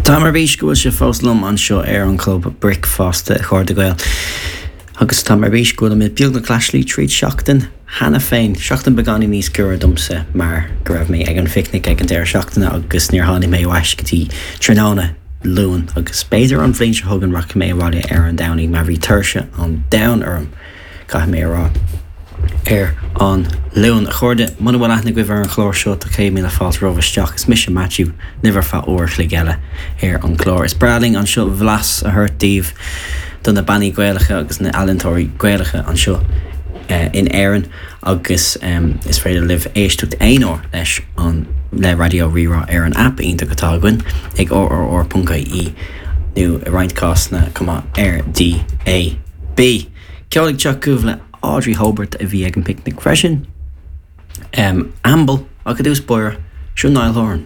Táim ar bís go bhfuil sibh fós liom anseo ar an Chlub Bricfeasta, a chairde Gael. Agus táim ar bís go bhfuilimid beagnach leathshlí tríd seachtain cheana féin. Seachtain beagáinín níos giorra domsa mar go raibh mé ag an phicnic ag an deireadh seachtaine agus níor tháinig mé ar ais go dtí tráthnóna Luain agus b'fhéidir an bhliain seo chugainn rachaidh mé abhaile ar an Domhnaigh mar bhí tuirse an domhain orm. caithfidh mé a rá, ar an Luan. A chairde, muna bhfuil aithne agaibh ar an chlár seo, tá 100,000 fáilte romhaibh isteach. Is mise Maitiú, libh ar feadh uair a chloig eile ar an gclár. Is breá linn anseo blas a thabhairt daoibh do na bannaí Gaelacha agus na ealaíontóirí Gaelacha anseo in Éirinn agus is féidir libh éisteacht aon uair leis an le Raidió Rí-Rá ar an aip iontach atá againn ag rrr.ie nó i roinnt cásanna chomh maith ar DAB. Ceol ag teacht chugaibh le Audrey Hobert a bhí ag an bpicnic freisin. Amble, ach i dtús báire, seo Niall Horan.